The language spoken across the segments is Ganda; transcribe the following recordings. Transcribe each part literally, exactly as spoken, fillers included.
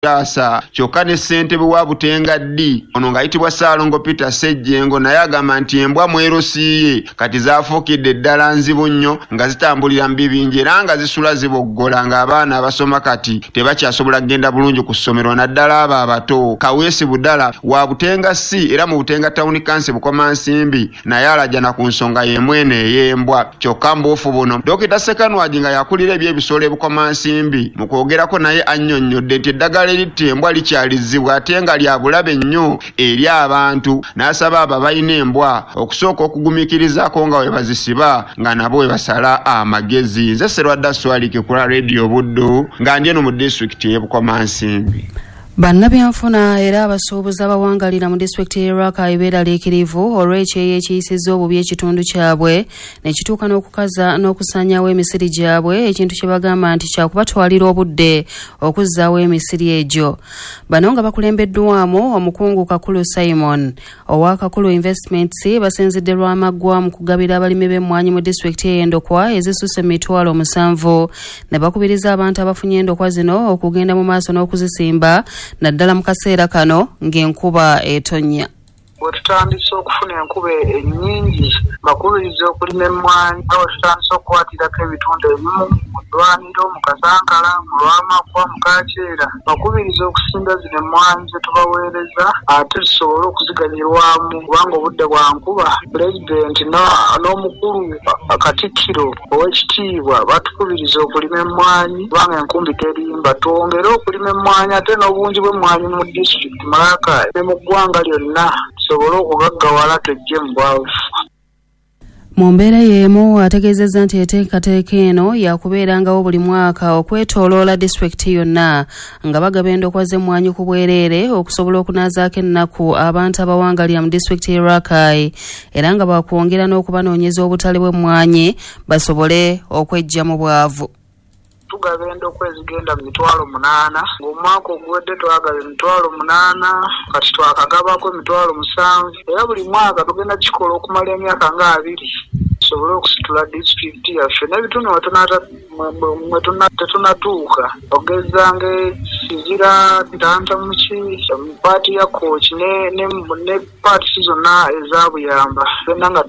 Asa kyokka ne ssentebe wa Butenga D ono ng'ayitibwa Ssaalongo Peter Ssejjengo naye agamba nti embwa mwerosiiye kati zaafuukidde ddala nzibu nnyo nga zitambulira mu bibinja era nga zisula ziboggola ng'abaana abasoma kati tebakyasobola kugenda bulungi ku ssomero naddala abo abato. Kaweesi Budala wa Butenga C era mu Butenga Town Council Bukomansimbi naye alajana ku nsonga y'emu eno ey'embwa. Kyokka mbuufu buno Dokita Ssekanwagi nga yakulira eby'ebisolo e Bukomansimbi mu kwogerako naye annyonnyodde nti eddagala eritta embwa likyalizibwa ate nga lya bulabe nnyo eri abantu, n'asaba abo abalina embwa okusooka okugumiikirizaako nga we bazisiba nga nabo we basala amagezi. Nze Sserwadda Swalike ku Radio Buddu nga ndi eno mu disitulikiti y'e Bukomansimbi. Bannabyanfuna era abasuubuzi abawangalira mu disitulikiti y'e Rakai beeraliikirivu olw'ekyeyo ekiyisizza obubi ekitundu kyabwe ne kituuka n'okukaza n'okusaanyaawo emisiri gyabwe, ekintu kye bagamba nti kyakubatwalira obudde okuzzaawo emisiri egyo. Bano nga bakulembeddwamu omukungu Kakulu Simon owa Kakulu Investments basinzidde Lwamaggwa mu kugabira abalimi b'emmwanyi mu disitulikiti ey'endokwa ezisusse emitwalo musanvu ne bakubiriza abantu abafunye endokwa zino okugenda mu maaso n'okuzisimba naddala mu kaseera kano ng'enkuba etonnya. Bwe tutandise okufuna enkuba ennyingi bakubiriza okulima emmwanyi nga bwe tutandise okukwatirako ebitundu ebimu mu ddwaniro, mu Kasankala, mu Lwamaggwa, mu Kaakyera, bakubiriza okusimba zino emmwanyi ze tubaweereza ate tusobole okuziganyulwamu kubanga obudde bwa nkuba. Pulezidenti n'omukulu Katikkiro ow'ekitiibwa batukubiriza okulima emmwanyi kubanga enkumbi terimba. Twongere okulima emmwanyi ate n'obungi bw'emmwanyi mu disitulikiti Malaka ne mu ggwanga lyonna tusobole okugaggawala twejje mu bwavu. Mu mbeera y'emu ategeezezza nti enteekateeka eno yakubeerangawo buli mwaka okwetooloola disitulikiti yonna nga bagaba endokwa z'emmwanyi ku bwereere okusobola okunaazaako ennaku abantu abawangalira mu disitulikiti y'e Rakai era nga bakwongera n'okubanoonyeza obutale bw'emmwanyi basobole okweggya mu bwavu. Tugaba endokwa ezigenda mu mitwalo munaana, ng'omwaka oguwedde twagaba emitwalo munaana, kati twakagabako emitwalo musanvu era buli mwaka tugenda kikola okumala emyaka nga abiri tusobole okusitula disitulikiti yaffe n'ebitundu mwe tetunatuuka ogeza ng'Kizira, Ntantamuki, paati ya Kooki ne ne paati zonna eza Buyamba byonna nga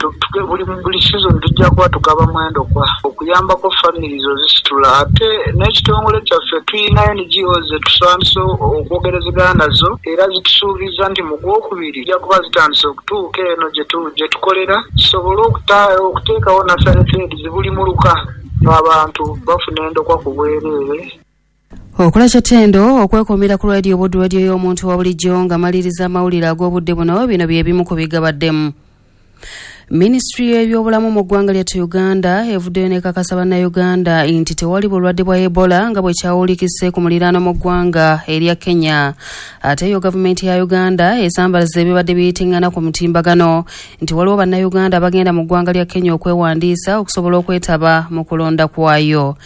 buli buli sizoni tujja kuba tugabamu endokwa okuyambako famirizi ozisitula. Ate n'ekitongole kyaffe tulina N G Os zetusandise okwogerezegana nazo era zitusuubiza nti mu gwokubiri zijja kuba zitandise okutuuka eno gye tukolera tusobole okuteekawo nasale feeds buli muluka abantu bafuna endokwa ku bwereere. Okola kyatendo okwekomera ku Radio Buddu, radio y'omuntu wa bulijjo nga maliriza amawulire ag'obudde buno. Bino bye bimu ku bigabaddemu. Minisitule y'ebyobulamu mu ggwanga lyattu Uganda evuddeyo n'ekakasa bannayuganda nti tewali bulwadde bwa Ebola nga bwe kyawulikise ku muliraano mu ggwanga erya Kenya. Ate yo gavumenti ya Uganda esambalaza ebibadde biyitingana ku mutimbagano nti waliwo bannayuganda abagenda mu ggwanga lya Kenya okwewandiisa okusobola okwetaba mu kulonda kwayo.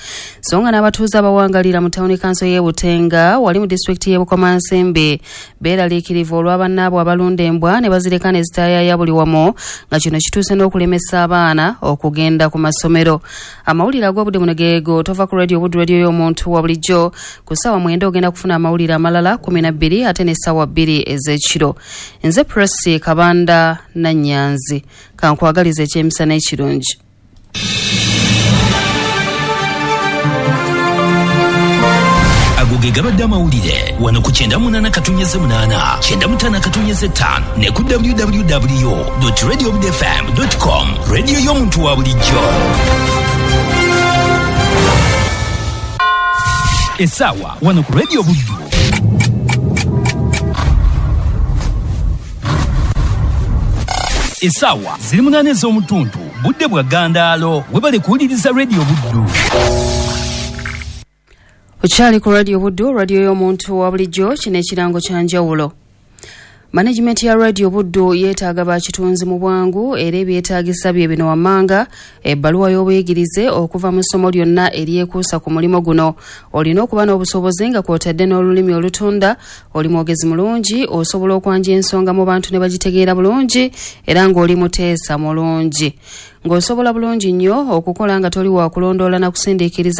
So nga n'abatuuze abawangalira mu tawuni kanso y'e Butenga wali mu disitulikiti y'e Bukomansimbi beeraliikirivu olwa bannaabwe abalunda embwa ne bazireka ne zitaayaaya buli wamu nga kino kituuse n'okulemesa abaana okugenda ku masomero. Amawulire ag'obudde buno geego. Tova ku Radio Buddu, radio y'omuntu wa bulijjo. Ku ssaawa mwenda ogenda kufuna amawulire amalala kumi na bbiri ate n'essaawa bbiri ez'ekiro. Nze Presi Kabanda Nannyanzi, kankwagaliza ekyemisana ekirungi. Ago ge gabadde amawulire wano ku kyenda munaana katunyeze munaana kyenda mutaano katunyeze ttaano ne ku w w w dot radio buddu f m dot com. Radio y'omuntu wa bulijjo. Essaawa wano ku Radio Buddu. Essaawa ziri munaana ez'omutuntu, budde bwa ggandaalo. Webale kuwuliriza Radio Buddu. Okyali ku Radio Buddu, radio y'omuntu wa bulijjo. Kino ekirango kya njawulo. Management ya Radio Buddu yeetaaga bakitunzi mu bwangu era ebyetaagisa bye bino wammanga: ebbaluwa y'obuyigirize okuva mu ssomo lyonna eryekuusa ku mulimu guno, olina okuba n'obusobozi nga kw'otadde n'olulimi olutunda, oli mwogezi mulungi, osobola okwanja ensonga mu bantu ne bagitegeera bulungi era ng'oli muteesa mulungi, ng'osobola bulungi nnyo okukola nga toli wa kulondoola na kusindiikiriza.